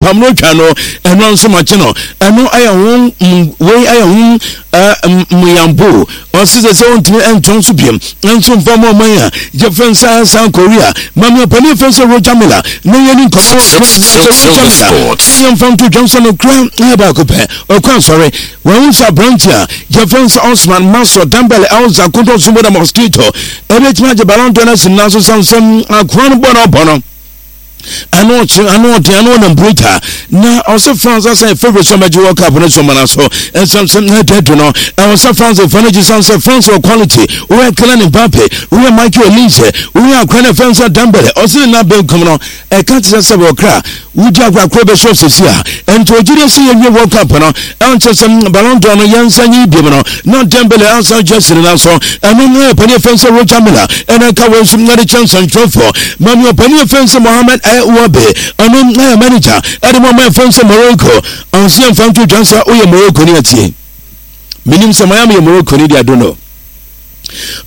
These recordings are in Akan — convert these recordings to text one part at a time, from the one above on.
pam no twa no ɛno nso makye no ɛno ɛyɛ ho wei ɛyɛ ho mmeyambo ɔse sɛ sɛ ɔntumi ɛntɔn so biam nso mfa ma ɔman a yɛfrɛ nsa South Korea mame ɔpani ɛfrɛ sɛ Roger Miller na yɛni nkɔmmɔ Roger Miller yɛmfa nto dwam sɛ no kora ɛyɛ baako pɛ ɔkɔ asɔre wɔn sɛ aberante a yɛfrɛ sɛ Osman Maso Dembele Elza Kodo Zumbo Mosquito ɛbɛtumi agye Ballon d'Or no asi nna so sane sɛ akoa no bɔ no ɔbɔ no ano ɔkye ano ɔden ano ɔnam bruta na ɔsɛ France asan favourite sɛ ɔbɛgye World Cup no so ɔmana so ɛnsɛm sɛ na ɛda adu no ɛwɔ sɛ France fo no gye san sɛ France wɔ quality woyɛ Kylian Mbappe woyɛ Michael Olise woyɛ akora no ɛfɛn sɛ Dembele ɔsɛ ne nan benkum no ɛka te sɛ sɛ wɔkra wodi agorɔ akoro bɛhyɛ sɛsi a ɛnti ɔgye dɛ sɛ yɛwie World Cup no ɛnkyɛ sɛ Ballon d'Or no yɛnsa nyi biom no na Dembele ansan gye asi ne nan so ɛno na ɔpanin afɛn sɛ Roger Miller ɛna ɛka wɔn nso na de kyɛ nsɛntwerɛfoɔ mami ɔpanin afɛn sɛ Mohamed Ouabe ɔno na yɛ manager ɛde mu ɔma afɛn sɛ Morocco ɔnsi ɛmfa nto dwa sɛ woyɛ Morocco ni atie menim sɛ Miami yɛ Morocco ni deɛ I don't know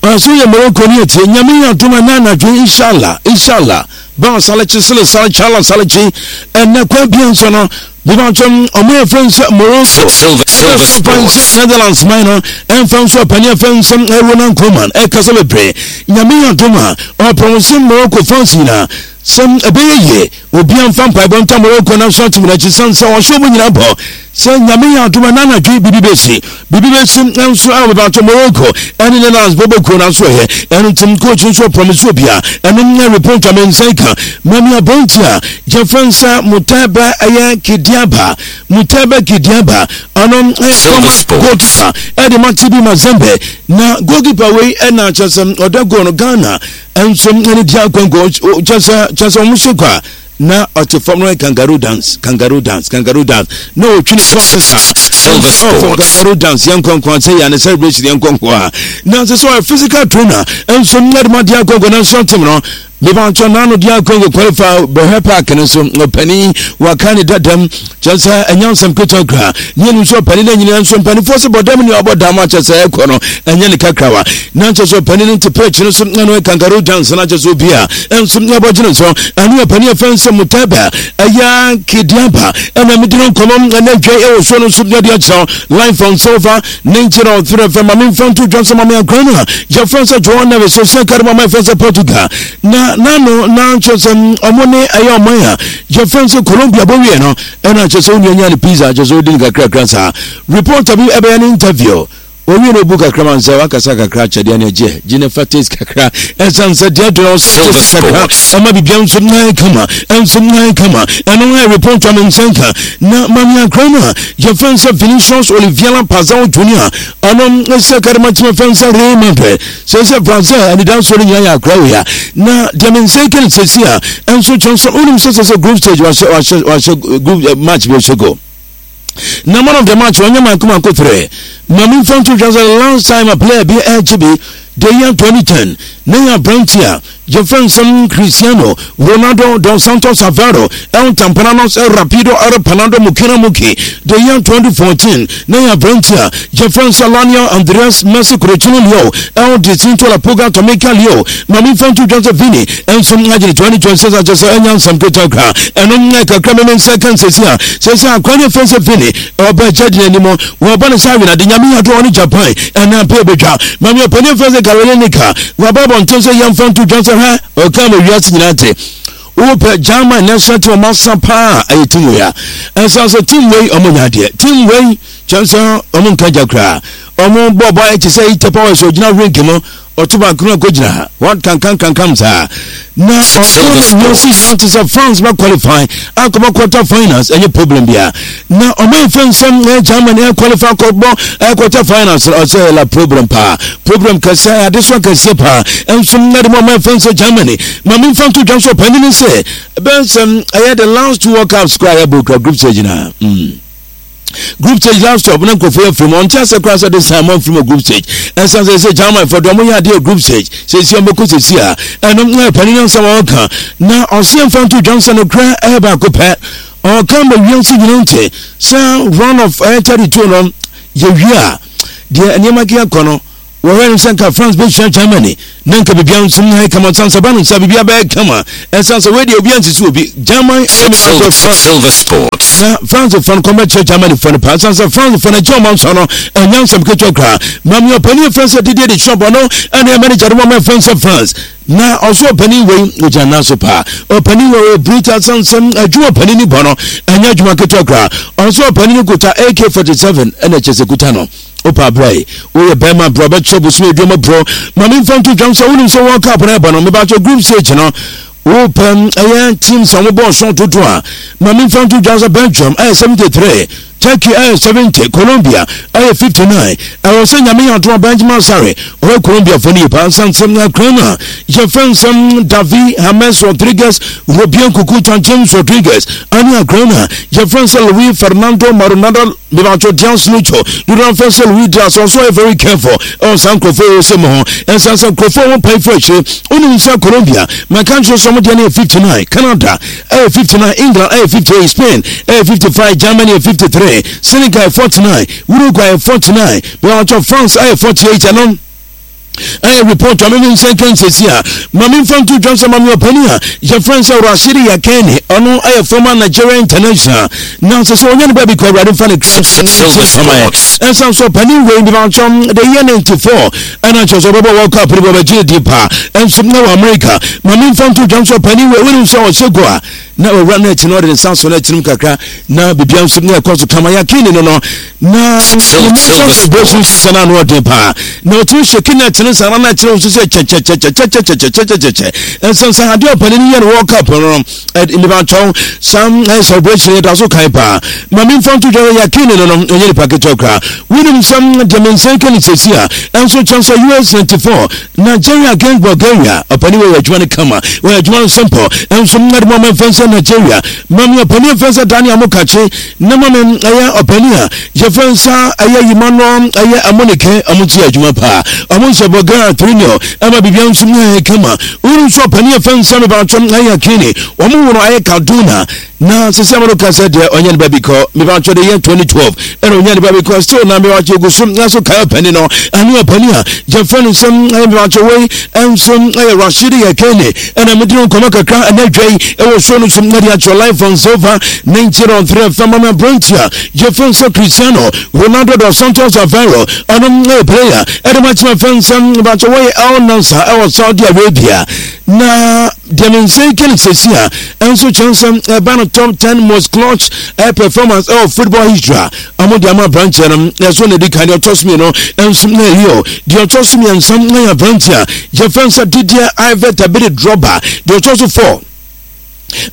Ɔso yɛ Morocco ni atie nyame yɛ adom a na anadwo inshallah inshallah ba salekye sele sale chala salekye ɛnɛ kwan bia nso no bibatwam ɔmo yɛ fɛn sɛ Morocco ɛna so kwan sɛ Netherlands man no ɛmfa nso ɔpani ɛfɛn sɛ Ronald Koeman ɛkasa bebree nyame yɛ adom a ɔpɔn sɛ Morocco fans nyinaa sɛ ɛbɛyɛ yie Obia mfa mpaebɔ nta Morocco national team no akyi sane sɛ ɔhyɛ ɔmo nyinaa bɔ sɛ Nyame yɛ adom a na anadwo yi biribi bɛsi. Biribi bɛsi nso a wɔbɛbato Morocco ɛne Netherlands bɔbɔ kuo no aso ɛyɛ. Ɛno nti coach nso ɔpromise obia ɛno nyɛ report a me nsa yi ka. Mami aberanteɛ a yɛfrɛ no sɛ Mutebe ɛyɛ Kidiaba Mutebe Kidiaba ɔno ɛyɛ former goalkeeper ɛde ma TB Mazembe na goalkeeper wei ɛna kyerɛ sɛ ɔda goal no Ghana nso ɛne di akɔnkɔ kyɛ sɛ kyɛ sɛ wɔn so kɔ a na ɔte fam no kangaroo dance kangaroo dance kangaroo dance na ɔtwi ne kɔn sesa ɔfɔ kangaroo dance yɛn nkɔnkɔn sɛ yɛn ne celebration yɛn nkɔnkɔn a na sɛ sɛ ɔyɛ physical trainer nso ɛde ma di akɔnkɔ na nso ɔtem no mebakyɛ n'ano di akɔnkɔ qualify bɛhwɛ park no so ɔpanin waka ne dadam kyerɛ sɛ ɛnyɛ nsɛm ketewa koraa ne ɛnim sɛ ɔpanin no nyinaa nso mpanimfoɔ sɛ bɔdam ne ɔbɔ dam akyɛ sɛ ɛkɔ no ɛnyɛ ne kakrawa na nkyɛ sɛ ɔpanin no te pɛkyi no so na no kangaroo dance na kyɛ sɛ obi a ɛnso ne abɔgyene so ɛne ɔpanin ɛfɛn sɛ mutaba ɛyɛ kidiaba ɛna mede no nkɔmmɔ ɛna dwa ɛwɔ soɔ no nso ne ɔde akyerɛ line from silver ne nkyerɛ ɔtwerɛ fɛ ma memfa nto dwa sɛ ma me akora no a yɛfrɛ sɛ João Neves sɛ kare ma ma ɛfrɛ sɛ Portugal na nano na kyerɛ sɛ ɔmo ne ɛyɛ ɔman a yɛfrɛ sɛ Colombia bɔwie no ɛna kyerɛ sɛ onua nya ne pizza kyerɛ sɛ odi no kakrakra saa reporter bi ɛbɛyɛ ne interview owie no obu kakra ma nsɛ wakasa kakra akyɛdeɛ ne agye gye ne fa taste kakra ɛsan sɛ deɛ dɔn ɔsɛ taste kakra ɛma bibia nso nan kama ɛnso nan kama ɛno na reporter no nsa nka na mame akora no a yɛfrɛ sɛ Vinicius Oliveira Pazao Junior ɔno sɛ karima kyerɛ fɛn sɛ Real Madrid Sɛ sɛ Brazil anidansoɔ no nyinaa yɛ akora wei a na deɛ me nsa kɛne sɛsi a ɛnso kyɛn so wonim sɛ sɛ sɛ group stage wahyɛ wahyɛ wahyɛ group eh, match bi ɔhyɛ goal na man of the match wɔnyɛ manko manko frɛ ma memfa nto dwa sɛ last time a player bi ɛgye bi the year 2010 na yɛ aberante a Yɛfrɛ nsɛm Cristiano Ronaldo dos Santos Aveiro El Tampananos El Rapido El Panado Mukina Muki the year 2014 na yɛ aberante a yɛfrɛ no sɛ Lionel Andres Messi Kurochino Leo El Dicinto La Puga Tomica Leo ma memfa nto dwa sɛ Vini nso agyene 2026 akyɛ sɛ ɛnya nsɛm ketewa koraa ɛno nyɛ kakra meme nsa ka nsɛsi a sɛ sɛ akora ne ɛfrɛ sɛ Vini ɔba agya di n'anim wɔbɔ no sɛ awenade nyame yɛ adom ɔne Japan ɛna pɛ bɛtwa mame ɔpanin ɛfrɛ sɛ Gary Lineker Wɔaba abɔnten sɛ yɛmfa nto dwa sɛ hwɛ ɔka ma wiase nyinaa te wopɛ German national team ɔmo asa paa ɛyɛ team wei a ɛsan sɛ team wei ɔmo nya adeɛ team wei kyɛn sɛ ɔmo nka gya koraa ɔmo bɔ bɔ ayɛ te sɛ ite powers ogyina rink mu ɔto baako no akɔgyina ha wɔn kankan kankan saa na ɔka ma wiase nyinaa te sɛ France bɛ qualify akɔbɔ quarter finals ɛnyɛ problem bia na ɔmo nfa nsɛm ɛyɛ Germany ɛ qualify akɔbɔ ɛ quarter finals ɔsɛ yɛ la problem paa problem kɛseɛ adesoa kɛseɛ paa ɛnso na de mo ɔmo nfa nsɛ Germany ma mi nfa nto dwa nso ɔpanin ne sɛ ɛbɛn sɛm ɛyɛ the last two World Cups koraa yɛ bɔ kura group stage na mm. Group stage last stop na nkurɔfoɔ yɛ firi mu ɔnte asɛ koraa sɛ de san mo mfiri mu group stage ɛnsan sɛ sɛ German fɔ deɛ ɔmo yɛ adeɛ group stage sɛsi ɔmo kɔ sɛsi a ɛno na ɛpɛne ne nsɛm ɔka na ɔseɛ mfa nto dwam sɛ no korɛ ɛyɛ baako pɛ ɔka ma wiase nyina nte sɛ round of 32 no yɛwie a deɛ nneɛma keka kɔ no. Wɔhwɛ no sɛ nka France bɛhyia Germany na nka biribiara nso nyɛ kama san sɛ ba no sɛ biribiara bɛyɛ kama ɛsan sɛ wei deɛ obiara nsisi obi German ɛne Silver, France Silver Sports. Na France fɔ no kɔmbɛkyerɛ Germany fɔ no paa san sɛ France fɔ no agye ɔma nsɔ no ɛnyɛ nsɛm ketewa koraa maame ɔpanin fɛn sɛ Didier Deschamps ɔno ɛne manager no wɔn fɛn sɛ France Na ɔso ɔpanin wei ogyina nan so paa. Ɔpanin wei ɔyɛ brutal sansam adwuma ɔpanin ni bɔ no ɛnyɛ adwuma ketewa koraa. Ɔso ɔpanin no kuta AK-47 ɛna kyɛ sɛ kuta no. Opa abira yi woyɛ bɛrima brɛ ɔbɛkyerɛ bosom aduama brɔ. Ma memfa nto dwam sɛ wonim sɛ World Cup no ɛbɔ no mebakyɛ group stage no wopɛ ɛyɛ teams a wɔbɔ ɔso dodo a ma memfa nto dwam sɛ Belgium ɛyɛ 73 Turkey ɛyɛ 70, Colombia ɛyɛ 59. Ɛwɔ sɛ Nyame yɛ adom a Benjamin Asare ɔyɛ Colombia fo no yie paa. Nsansɛm na akran no a yɛfrɛ nsɛm Davi James Rodriguez, Robien Kukuta James Rodriguez ɛne akran no a yɛfrɛ nsɛ Luis Fernando Maronada Mebato Diaz Lucho dodoɔ afrɛ sɛ Luis Diaz ɔnso ɔyɛ very careful ɛwɔ saa nkurɔfoɔ wɔ sɛ mu ho. Ɛnsan sɛ nkurɔfoɔ ho pae firi akyire. Wonim sɛ Colombia mɛka nkyerɛ sɛ ɔmo deɛ no yɛ 59, Canada ɛyɛ 59, England ɛyɛ 58, Spain ɛyɛ 55, Germany ɛyɛ 53, Senegal ɛyɛ 49, Uruguay ɛyɛ 49, bɛwɔtɔ France ɛyɛ 48. Ɛno ɛyɛ report a meme nsa nka nsɛsi a ma memfa nto dwam sɛ mame ɔpani a yɛfrɛ sɛ Rashidi Yakeni, ɔno ɛyɛ former Nigeria international na sɛ sɛ ɔnya ne baabi kɔ awurade mfa ne kra ɛnsan so ɔpani wei bi makyɛm the year 94 ɛna kyerɛ sɛ ɔbɛbɔ World Cup no bi ɔbɛgye di paa ɛnso na wɔ America. Ma memfa nto dwam sɛ ɔpanin wei wonim sɛ ɔhyɛ go a na ɔwura no akyi na ɔde ne nsa so no akyinom kakra na biribia nso na ɛkɔ so kama yɛakini no na Silver celebration Sports. sisa no ano ɔden paa na ɔtumi hyɛki no akyene saa na akyerɛ wo nso sɛ kyɛkyɛkyɛkyɛkyɛkyɛkyɛkyɛkyɛ ɛnsɛnsa adeɛ ɔpanin no yɛ no World Cup no mebakyɛw saa celebration yɛda so kan paa. Ma memfa nto dwa yɛkene no ɛnyɛ nipa ketewa koraa. Wonim sɛm deɛ me nsa ka ne sɛsi a ɛnso kyɛn sɛ US 94 Nigeria against Bulgaria ɔpani wɔ yɛ adwuma no kama wɔyɛ adwuma no simple ɛnso mmade mu ɔmɛmfa nsɛ Nigeria ma me ɔpani mfa nsɛ Daniel Mokakye na ma me ɛyɛ ɔpani a yɛfrɛ nsa ɛyɛ yima no ɛyɛ amonike ɔmo nso yɛ adwuma paa ɔmo nso Bulgaria 3-0 ɛma biribiara nso mu ayɛ kama. Wonim nso ɔpani yɛfrɛ nsa mebaatwom ɛyɛ kini wɔn wo no ayɛ Kaduna na sisi ama no ka sɛ deɛ ɔnyɛ ne baabi kɔ mebaatwa de yɛ 2012 ɛna ɔnyɛ ne baabi kɔ still na mebaatwa egu so na so kae ɔpani no ɛne ɔpani a yɛfrɛ no nsɛm ɛyɛ mebaatwa wei ɛnso ɛyɛ Rashidi Yekini ɛna mede no nkɔmɔ kakra ɛna adwa yi ɛwɔ show no so na de akyerɛ live on Silver 90.3 FM mame aberante a yɛfrɛ no sɛ Cristiano Ronaldo dos Santos Aveiro ɔno ɛyɛ player ɛde ma kyerɛ fɛn sɛ mebaatwa wɔyɛ Al Nassr ɛwɔ Saudi Arabia na deɛ me nsa yi kɛne sɛsi a ɛnso kyerɛ sɛ ɛba no top 10 most clutch performance ɛwɔ football history a ɔmo de ama aberanteɛ no ɛso na ɛdi kan. Deɛ ɔtɔ so mmienu ɛnso na ɛyɛ deɛ ɔtɔ so mmiɛnsa na yɛ aberanteɛ a yɛfrɛ no sɛ Didier Iver Tabiri Drogba. Deɛ ɔtɔ so 4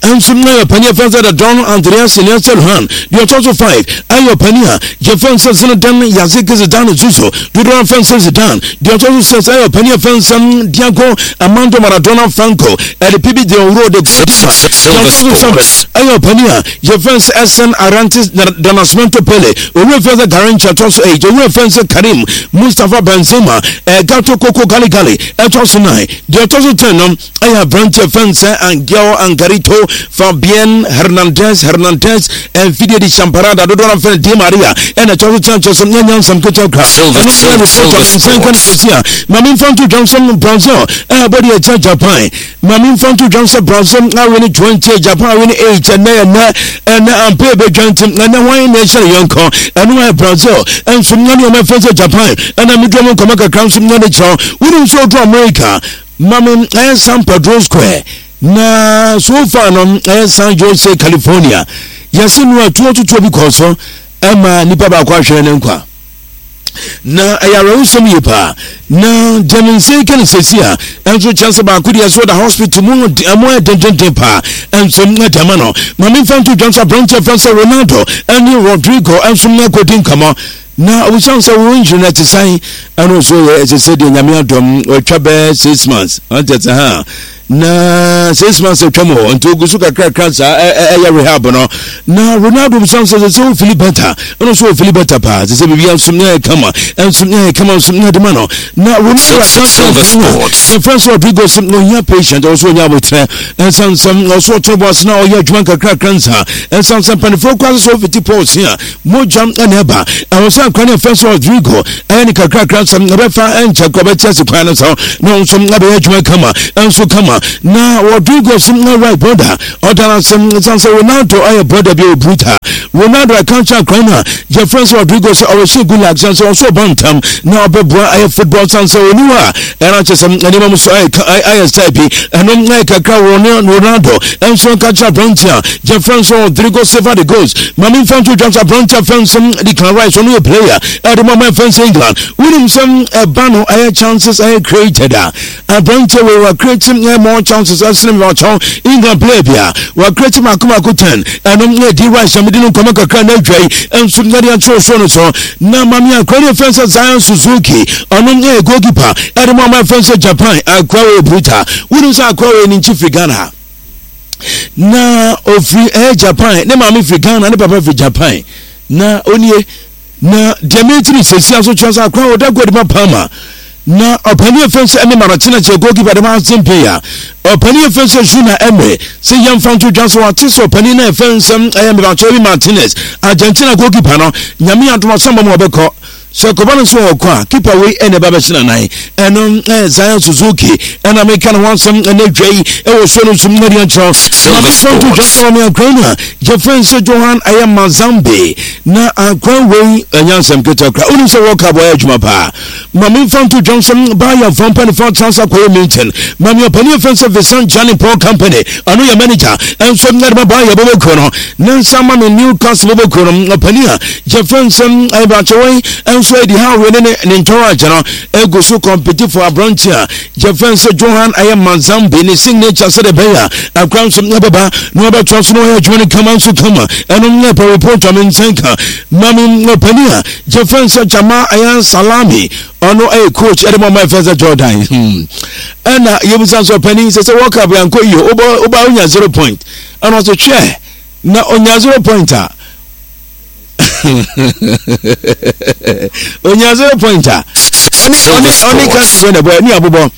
ɛnso na yɛ ɔpanin yɛfrɛ sɛ the Don Andreas Iniesta Luhan. Deɛ ɔtɔ so 5 ɛyɛ ɔpanin a yɛfrɛ sɛ Zinedine Yazid Zidane Zizou, dodoɔ afrɛ sɛ Zidane. Deɛ ɔtɔ so 6 ɛyɛ ɔpanin yɛfrɛ sɛ Diego Armando Maradona Franco ɛde pibi de owuro de goalkeeper. Deɛ Silver ɔtɔ so 7 Sports. ɛyɛ ɔpanin a yɛfrɛ sɛ Edson Arantes do Nascimento Pele, owura fɛn sɛ Garrincha ɛtɔ so 8, owura fɛn sɛ Karim Mustafa Benzema Gato Koko Gali Gali ɛtɔ so 9. Deɛ ɔtɔ so 10 no ɛyɛ aberanteɛ fɛn sɛ Angel Angarito Fabien Hernandez Hernandez mfidie de Champarada dodoɔ no fɛn Di Maria ɛna ɛtɔ so 10 kyɛ so nyɛ nsɛm ketewa kora. Silver, ɛno Silver, ɛyɛ report Silver a nsa nka no Sports. sɛsi a ma memfa nto dwam sɛ Brazil ɛbɔ deɛ ɛkyɛ Japan. Ma memfa nto dwam sɛ Brazil awe ne 20, Japan awe ne 8. Ɛnɛ ɛnɛ ɛnɛ ampa ɛbɛdwa nti ɛnɛ hwan na ɛhyɛ ne yɔnkɔ ɛno ayɛ Brazil ɛnso na ne ɔmɛfɛ sɛ Japan ɛna medwa mu nkɔmɔ kakra nso na ne kyerɛ wonim sɛ ɔduru America ma me ɛyɛ San Pedro Square na so far no ɛyɛ San Jose, California yɛse no atuo tutuo bi kɔɔ so ɛma nipa baako ahwere ne nkwa na ɛyɛ awerɛhosɛm yie paa na deɛ me nsa yi ka no sɛsi a ɛnso kyɛn sɛ baako deɛ so da hospital mu ɛmo ayɛ dendenden paa ɛnso na deɛ ama no ma memfa nto dwam sɛ aberanteɛ fɛn sɛ Ronaldo ɛne Rodrigo ɛnso na akɔdi nkɔmmɔ na ɔbusan sɛ wo injury no ɛte sɛn ɛno nso yɛ ɛte sɛ deɛ nyame adɔm ɔtwa bɛɛ 6 months ɔnte sɛ ha. Na 6 months atwam hɔ nti ogu so kakrakra saa ɛyɛ rehab no. Na Ronaldo bisa sɛ sɛ wo feel better? Ɛno nso wɔ feel better paa sɛ biribia nso ɛyɛ kama, ɛnso ɛyɛ kama nso ɛde ma no. Na Ronaldo aka yɛfrɛ nso Rodrigo sɛ ɔhia patient, ɔwɔ so ɔnya abotrɛ, ɛnsan sɛ ɔso ɔtene bɔ ase na ɔyɛ adwuma nkakrakra nsa, ɛnsan sɛ mpanimfoɔ kɔ ase sɛ ɔfiti pɔs a mogya ɛna ɛba. Ɛwɔ sɛ akora ne ɛfɛ sɛ Rodrigo ɛyɛ ne kakrakra nsɛm ɛbɛfa ɛnkyɛ kɔ bɛte ase kwan no so na ɔnso ɛbɛyɛ adwuma kama ɛnso kama. Na Rodrigo so na right brother ɔda no ase ɛsiane sɛ Ronaldo ɛyɛ brother bi a ɔbruta. Ronaldo ɛka kyerɛ akora no a yɛfrɛ sɛ Rodrigo sɛ ɔwɔhyɛ good luck sane sɛ ɔso ɔba ntam na ɔbɛboa ɛyɛ football, sane sɛ ɔni hɔ a ɛna kyɛ sɛ nneɛma mu so ayɛ style bi. Ɛno ɛyɛ kakra Ronaldo ɛnso nka kyerɛ aberante a yɛfrɛ nso Rodrigo Silva de goals. Maame mfa nto dwa sɛ aberante a fɛn sɛ Declan Rice, ɔno yɛ player ɛde ma ɔman fɛn sɛ England. Wonim sɛ ɛba no ɛyɛ chances ɛyɛ created a, aberante wei wa create ɛyɛ more chances ɛsene mewɔkyɛw England player bi a wa create mako mako 10. Ɛno ɛyɛ di Rice a mede no nkɔmɔ kakra na adwa yi ɛnso ɛde akyerɛw so no so. Na maame akora ne fɛn sɛ Zion Suzuki, ɔno ɛyɛ goalkeeper ɛde ma ɔman fɛn sɛ Japan. Akora wei bruta. Wonim sɛ akora wei ne nkyi firi Ghana na ofiri ɛyɛ Japan, ne maame firi Ghana, ne papa firi Japan. Na onie na deɛ metiri sɛsi aso kyerɛ sɛ akora ɔda gɔdi ma Parma. Na ɔpani efe sɛ ɛne Maratina kyerɛ goalkeeper de ma Aston Villa. Ɔpani efe sɛ Juna Emery sɛ yɛmfa nto dwa so wate sɛ ɔpani na efe nsɛm ɛyɛ mebakyɛ bi Martinez, Argentina goalkeeper no. Nyame adom asɛm mu ɔbɛkɔ sɛ kɔba no nso ɔkɔ a, keeper wei ɛna ɛba bɛhyɛ nanan. Ɛno ɛyɛ Zion Suzuki ɛna meka ne ho asɛm ɛna dwa yi ɛwɔ so no nso mmɛde akyerɛw. Silver Na mefa nto dwa Sports. sɛ ɔne akwan no a yɛfrɛ sɛ Johan ɛyɛ Mazambi. Na akwan wei ɛnyɛ asɛm ketewa kora. Wonim sɛ World Cup ɔyɛ adwuma paa. Ma memfa nto dwam sɛ baayɛ fa mpanimfoɔ atena ase akɔyɛ meeting. Ma me ɔpani ɛfrɛ sɛ Vincent Jane Paul Company, ɔno yɛ manager ɛnso ɛde ma baayɛ bɔbɔkuo no ne nsa. Ma me Newcastle bɔbɔkuo no ɔpani a yɛfrɛ nsɛm ɛbakyɛwɛn ɛnso Eddie Howe ne ne ntɔrɔagye no egu so compete for aberante a yɛfrɛ sɛ Johan ɛyɛ Mazambi ne signature sɛdeɛ ɛbɛyɛ a akora nso ɛbɛba na wɔbɛtoa so na wɔyɛ adwuma no kama nso kama. Ɛno nyɛ pɛ report a me nkyɛn ka. Ma me ɔpani a yɛfrɛ sɛ Jama ɛyɛ Salami, ɔno ɛyɛ coach ɛde ma ɔma ɛfɛ sɛ Jordan. Ɛna yɛbusa nso ɔpani sɛ World Cup yɛnkɔ yie, woba wonya 0 point. Ɛna ɔsɛ hwɛ na ɔnya 0 point a, onya 0 point a ɔne country na ɛbɔ ne abobɔ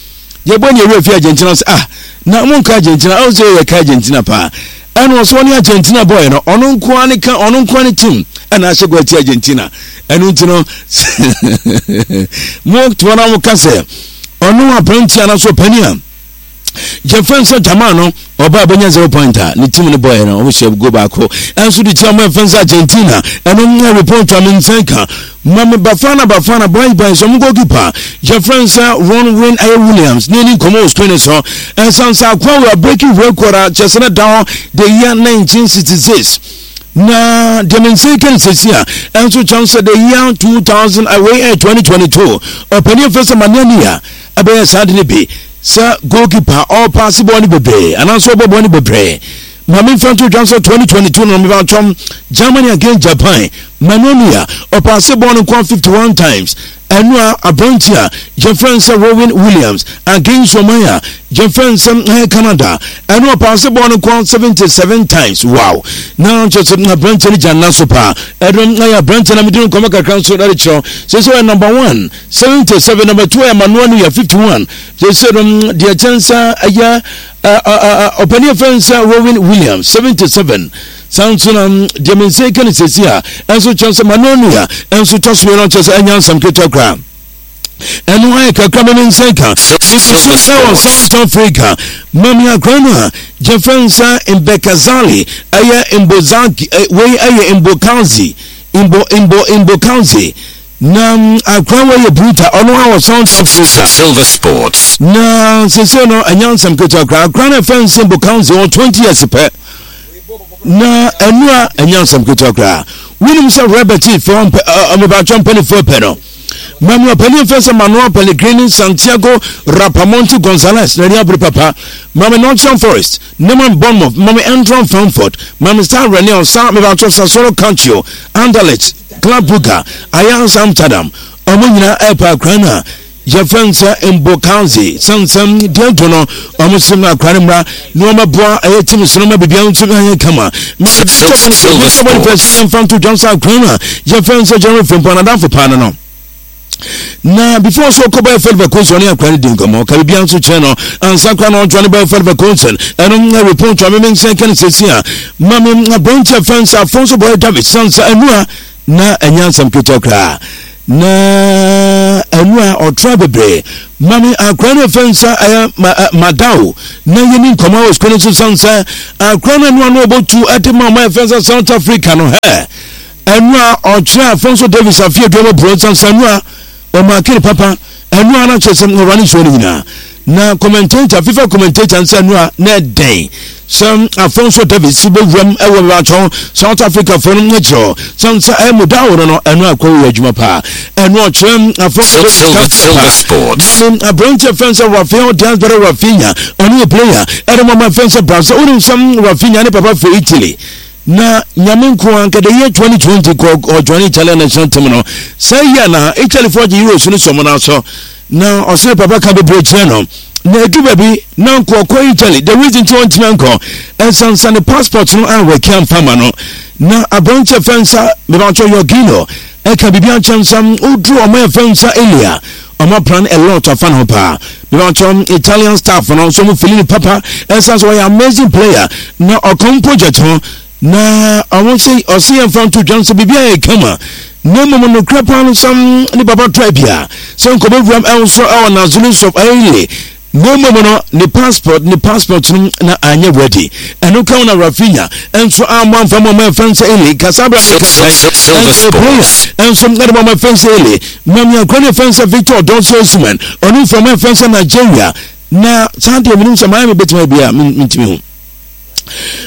yɛbɔ ne ewura fi Argentina sɛ, ah, na mo nka Argentina ɔn sɛ yɛ ka Argentina paa. Ɛna ɔsɔ ɔne Argentina bɔɔl no, ɔno nkoa ne ka, ɔno nkoa ne team ɛna ahyɛ gɔ ati Argentina. Ɛno nti no mo toɔ na mo ka sɛ ɔno aberanteɛ anaasɛ ɔpani a yɛfrɛ sɛ Jama no ɔba bɛnya 0 point a ne team no bɔɔɛ no, ɔmo hyɛ go baako ɛnso de tia ɔmo ɛfɛn sɛ Argentina. Ɛno nyɛ report a me nkyɛn ka. Mame Bafana Bafana boys boys ɔmo goalkeeper yɛfrɛ sɛ Ronwen ɛyɛ Williams ne ani nkɔmɔ wɔ screen so, ɛnsan sɛ akoa wɔ breaking record a kyerɛ sɛ ne da hɔ the year 1966. Na deɛ me nsa ka no sɛsi a ɛnso kyɛn sɛ the year 2000 awei ɛyɛ 2022, ɔpanin fɛ sɛ Manuel a ɛbɛyɛ saa de no bi sɛ goalkeeper ɔpaase bɔɔl no bebree anaasɛ ɔbɔ bɔɔl no bebree. Maame nfa nto dwa sɛ 2022 no meba twɛm Germany against Japan, Manuel Neuer ɔpaase bɔɔl no kɔ 51 times. Ɛno a aberante a yɛfrɛ no sɛ Rowan Williams against ɔman a yɛfrɛ no sɛ Canada, ɛno ɔpaase bɔɔl no kɔ 77 times. Wow, na kyerɛ sɛ aberante no gya nna so paa. Ɛno ɛyɛ aberante na mede no nkɔmmɔ kakra nso ɛde kyerɛw sɛ ɔyɛ number one 77, number two ɛyɛ Manuel Neuer 51. Sɛ no deɛ kyɛn sɛ ɛyɛ ɔpanin fɛn sɛ Rowan Williams 77. Saa nso na deɛ me nsa ka no sɛsi a ɛnso kyɛn sɛ Manuel Neuer ɛnso tɔ so no kyerɛ sɛ ɛnyɛ nsɛm ketewa koraa. Ɛno ayɛ kakra me nsa ka Silver ɛwɔ Sports. South Africa. Mami akora no a yɛfrɛ nsa Mbekazali ɛyɛ Mbozaki, wei ɛyɛ Mbokazi, Mbo Mbo Mbokazi. Na akora wei yɛ bruta, ɔno a wɔ South Africa. Silver Sports. Na sese no ɛnyɛ nsɛm ketewa koraa. Akora no ɛfɛ nsɛm Mbokazi wɔ 20 years pɛ na ɛno a ɛnyɛ nsɛm ketewa koraa. Wonim sɛ Robert fɛ ɔmebatwɛ mpanifoɔ pɛ no. Mami ɔpanin fɛ sɛ Manuel Pellegrini, Santiago Rapamonte Gonzalez n'ani abere papa. Mami Nottingham Forest ne mami Bournemouth, mami Eintracht Frankfurt, mami Stade Rennes sa mebatwɛ Sassuolo Calcio, Anderlecht, Club Brugge, Ajax Amsterdam, ɔmo nyinaa ɛɛpɛ akora no a. yɛfrɛ no sɛ Mbokazi sɛnsɛm deɛ nto no ɔmo sɛ no akora no mmra na ɔma boa ɛyɛ tim so no ma biribiara nso anyɛ kama sɛ mfa nto dwam sɛ akora no a yɛfrɛ no sɛ Jeremy Frimpong nadamfo paa no no na before so ɔkɔ bɛyɛ Fred Vakonson ɔne akora no di nkɔmmɔ ka biribiara nso kyerɛ no ansa kora na ɔdwane bɛyɛ Fred Vakonson ɛno na report a meme nsɛn ka no sɛsi a ma me aberanteɛ fɛn sɛ Afonso Boy David sansa ɛno a na ɛnyɛ asɛm ketewa koraa na ɛno a ɔtra bebree ma me akora no ɛfɛ nsa ɛyɛ madao na yɛni nkɔmmɔ wɔ sukuu no so san sɛ akora no ɛno ano ɔbɔtu ɛde ma ɔma ɛfɛ nsa South Africa no hɛ ɛno a ɔkyerɛ Afonso Davis afei aduama buro nsa nsa ɛno a ɔmaakere papa ɛno a na kyerɛ sɛ ɔwura ne nsuo no nyinaa na commentator FIFA commentator nsa ɛno a na ɛdɛn sɛ Afonso Davis bɛwuram ɛwɔ bɛbɛatɔn South Africa foɔ no akyerɛ hɔ sɛ nsa ɛmu da wo no no ɛno akɔ yɛ adwuma paa ɛno ɔkyerɛ Afonso Davis paa na aberanteɛ fɛn sɛ Rafael Diaz bɛrɛ Rafinha ɔno yɛ player ɛde mɔma fɛn sɛ Brazil wonim sɛ Rafinha ne papa fɛ Italy Na Nyame nko ara nka the year 2020 kɔ ɔjoine Italian national team no saa year na Italy foɔ gye Euros no sɔ mo nan so na ɔsene papa ka bebree kyerɛ no na edu baabi na nko ɔkɔ Italy the reason ti ɔntumi ankɔ ɛnsansa ne passport no anwɛki amfa ma no na aberanteɛ fɛn nsa mebatɔ Jorginho ɛka biribi ankyɛ nsa woduru ɔmo ɛfɛn nsa Elia ɔmo plan a lot afa ne ho paa mebatɔ Italian staff no nso ɔmo fili ne papa ɛsan so ɔyɛ amazing player na ɔkɔm project ho na ɔmo sɛ ɔsɛ yɛn fa nto dwa nso biribi ayɛ kama na mmom nokorɛ paa no sɛm ne papa try bia sɛ nkɔbɛwuram ɛnso ɛwɔ Nazarene of Eile Na mmom no, ne passport ne passport no na anyɛ ready. Ɛno ka ho na Rafinha nso ammɔ amfa ma ɔma ɛfɛn sɛ Ele kasa abira ne kasa nso player nso ɛde ma ɔma ɛfɛn sɛ Ele Mami akora ne ɛfɛn sɛ Victor Odonso Osimhen ɔno nso ɔma ɛfɛn sɛ Nigeria na saa deɛ menim sɛ Miami bɛtumi ayɛ bi a mentumi ho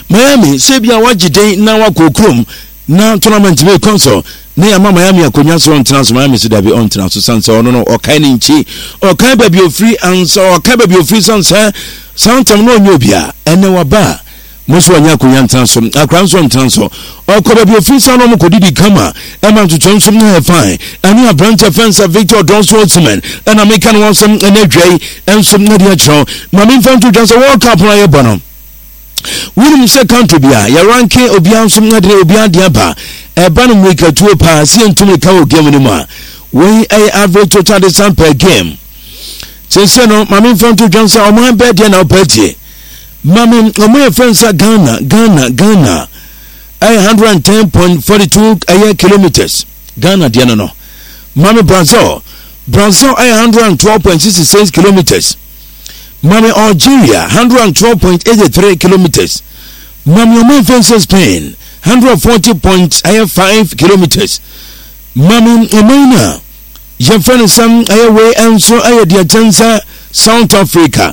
Miami sɛ bi a wagye den na wakɔ kurom na tournament bi kɔ so na yɛama Miami akonnwa so ɔntena so Miami so dabi ɔntena so san sɛ ɔno no ɔkae ne nkyi ɔkae baabi ofiri ansa ɔkae baabi ofiri san sɛ saa ntam no ɔnyɛ obi a ɛnɛ waba a mo nso ɔnyɛ akonnwa ntena so akora nso ɔntena so ɔkɔ baabi ofiri san na ɔmo kɔdidi kama ɛma ntotoɛ nso na yɛ fine ɛne aberante fɛn sɛ Victor Donso Osimhen ɛna meka ne wɔn sɛm ɛnɛ adwa yi ɛnso na de akyerɛw ma memfa nto dwa sɛ World Cup no ayɛ bɔ no Wonim sɛ country bi a yɛranke obiara nso de obiara de aba ɛba no mmirikatuo paa sɛ yɛntu mmirika wɔ game no mu a wei ɛyɛ average total distance per game sese no maame nfa nto dwan sɛ ɔman bɛɛ deɛ na ɔpɛ tie maame ɔmo yɛ fɛn sɛ Ghana Ghana Ghana ɛyɛ 110.42 ɛyɛ kilometers Ghana deɛ no no maame Brazil Brazil ɛyɛ 112.66 kilometers Mame Algeria, 112.83 kilometres. Mame ɔman fɛnsɛ Spain, 140.5 kilometres. Mame ɔman no a yɛfrɛ no sɛ ɛyɛ wei nso ɛyɛ deɛ kyɛn sɛ South Africa.